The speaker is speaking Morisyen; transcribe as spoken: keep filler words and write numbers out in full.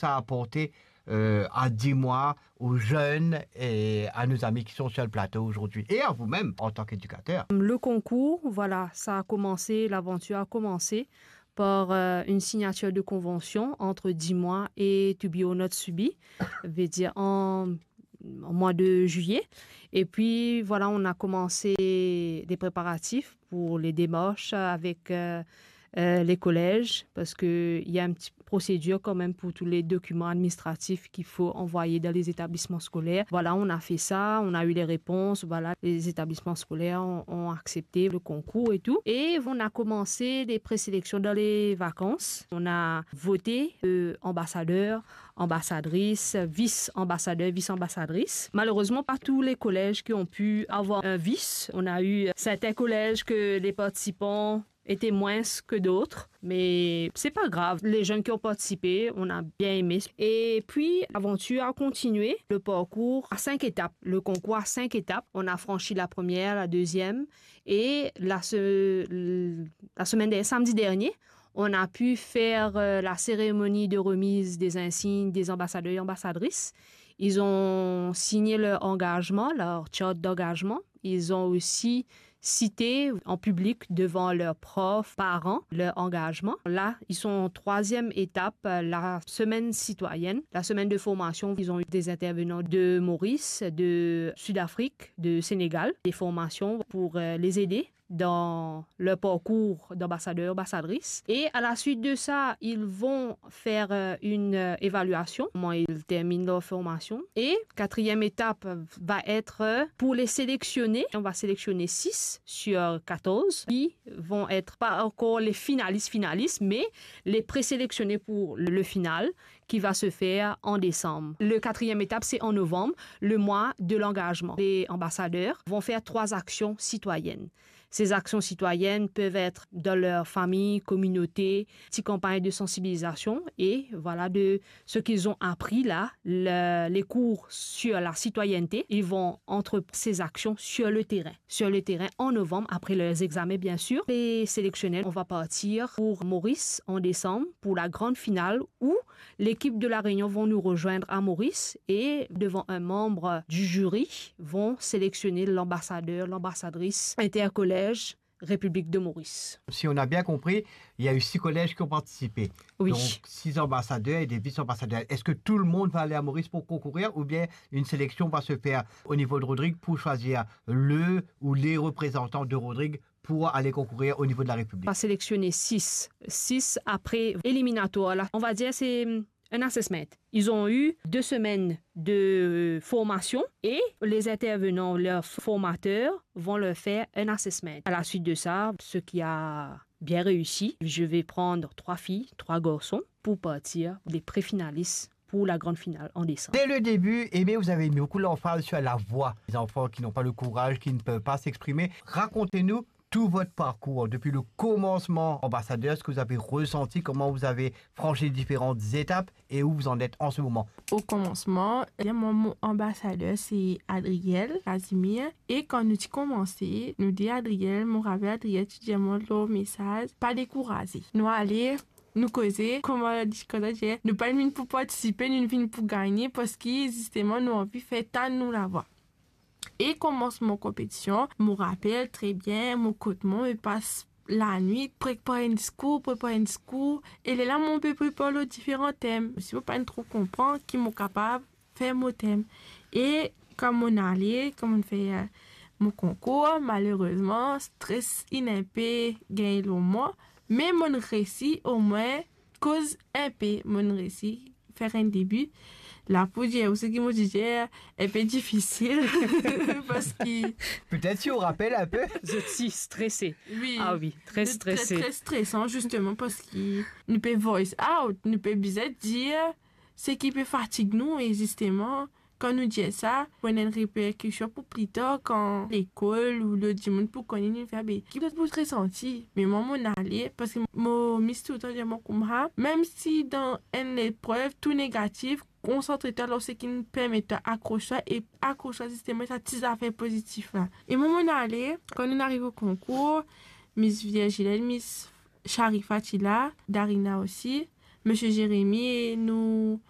ça a apporté, euh, à Dix Mois, aux jeunes et à nos amis qui sont sur le plateau aujourd'hui et à vous-même en tant qu'éducateur ? Le concours, voilà, ça a commencé, l'aventure a commencé par, euh, une signature de convention entre Dix Mois et To Be or Not To Be, veut dire en, en mois de juillet. Et puis, voilà, on a commencé les préparatifs pour les démarches avec, euh, euh, les collèges, parce que il y a une petite procédure quand même pour tous les documents administratifs qu'il faut envoyer dans les établissements scolaires. Voilà, on a fait ça, on a eu les réponses, voilà, les établissements scolaires ont, ont accepté le concours et tout. Et on a commencé les présélections dans les vacances. On a voté, euh, ambassadeur, ambassadrice, vice-ambassadeur, vice-ambassadrice. Malheureusement, pas tous les collèges qui ont pu avoir un vice. On a eu certains collèges que les participants étaient moins que d'autres, mais c'est pas grave. Les jeunes qui ont participé, on a bien aimé. Et puis, l'aventure a continué, le parcours à cinq étapes, le concours à cinq étapes. On a franchi la première, la deuxième, et la, se- la semaine dernière, samedi dernier, on a pu faire, euh, la cérémonie de remise des insignes des ambassadeurs et ambassadrices. Ils ont signé leur engagement, leur charte d'engagement. Ils ont aussi cité en public devant leurs profs, parents, leur engagement. Là, ils sont en troisième étape, euh, la semaine citoyenne, la semaine de formation. Ils ont eu des intervenants de Maurice, de Sud-Afrique, de Sénégal, des formations pour, euh, les aider dans leur parcours d'ambassadeur, ambassadrice. Et à la suite de ça, ils vont faire, euh, une, euh, évaluation, comment ils terminent leur formation. Et quatrième étape va être, euh, pour les sélectionner. On va sélectionner six sur quatorze qui vont être pas encore les finalistes, finalistes, mais les présélectionnés pour le, le final qui va se faire en décembre. Le quatrième étape, c'est en novembre, le mois de l'engagement. Les ambassadeurs vont faire trois actions citoyennes. Ces actions citoyennes peuvent être dans leur famille, communauté, petites campagnes de sensibilisation et voilà de ce qu'ils ont appris là, le- les cours sur la citoyenneté. Ils vont entreprendre ces actions sur le terrain, sur le terrain en novembre, après leurs examens bien sûr. Les sélectionnés, on va partir pour Maurice en décembre pour la grande finale où l'équipe de La Réunion vont nous rejoindre à Maurice et, devant un membre du jury, vont sélectionner l'ambassadeur, l'ambassadrice intercollège République de Maurice. Si on a bien compris, il y a eu six collèges qui ont participé. Oui. Donc, six ambassadeurs et des vice-ambassadeurs. Est-ce que tout le monde va aller à Maurice pour concourir ou bien une sélection va se faire au niveau de Rodrigue pour choisir le ou les représentants de Rodrigue pour aller concourir au niveau de la République ? On va sélectionner six. Six après éliminatoire. Là, on va dire c'est, hum, un assessment. Ils ont eu deux semaines de formation et les intervenants, leurs formateurs, vont leur faire un assessment. À la suite de ça, ceux qui a bien réussi, je vais prendre trois filles, trois garçons pour partir les préfinalistes pour la grande finale en décembre. Dès le début, Aimé, vous avez mis beaucoup l'emphase sur la voix. Les enfants qui n'ont pas le courage, qui ne peuvent pas s'exprimer. Racontez-nous tout votre parcours, depuis le commencement ambassadeur, ce que vous avez ressenti, comment vous avez franchi les différentes étapes et où vous en êtes en ce moment. Au commencement, mon, mon ambassadeur, c'est Adriel Casimir. E kan nou ti koumanse, nou de Adriel, mo rapel Adriel ti dir mwa lor mesaz, pa dekouraze. Nou ale, nou koze, kouma, kouma dir, nou pa vinn pou partisipe, nou vinn pou gagne, parski zisteman nou anvi fer tann nou lavwa. E koumansman konpetision, mo rapel tre bien, mo kot mwa, mo pas lanwit, prepar enn diskour, prepar enn diskour, e lerla mo pe prepar lor diferan tem. Si mo pa tro konpran ki mo kapav fer mo tem. E kan mo ale, kan mo fer, eh, mo konkour, malerezman, stres inn inpe gagn lor mwa, me mo resi omwin koz inpe, mo resi fer enn debi. La pou dir, ou seki mo dir, inpe difisil, parski... Peut-être si on rappelle un peu. Zot ti strese. Wi. Ah wi, tre strese. Tre, tre stresan, zisteman, parski nou pe voice out, nou pe bizin dir seki pe fatig nou, e zisteman, kan nou dir sa, pou ena enn reperkision pou pli tar, kan lekol ou lot dimoun pou kone, nou fer, be, ki zot pou resanti. Me mwa, mo ale, parski mo miss toultan dir mwa koumsa, mem si dan enn leprev, tou negatif, konsantre twa lor seki permet twa akros twa, e akros twa zisteman sa ti zafer pozitif la. E mwa, mo ale, kan nou ariv o konkour, Miss Virginie, Miss Sharifa ti la, Darina osi, Misie Jérémie e nou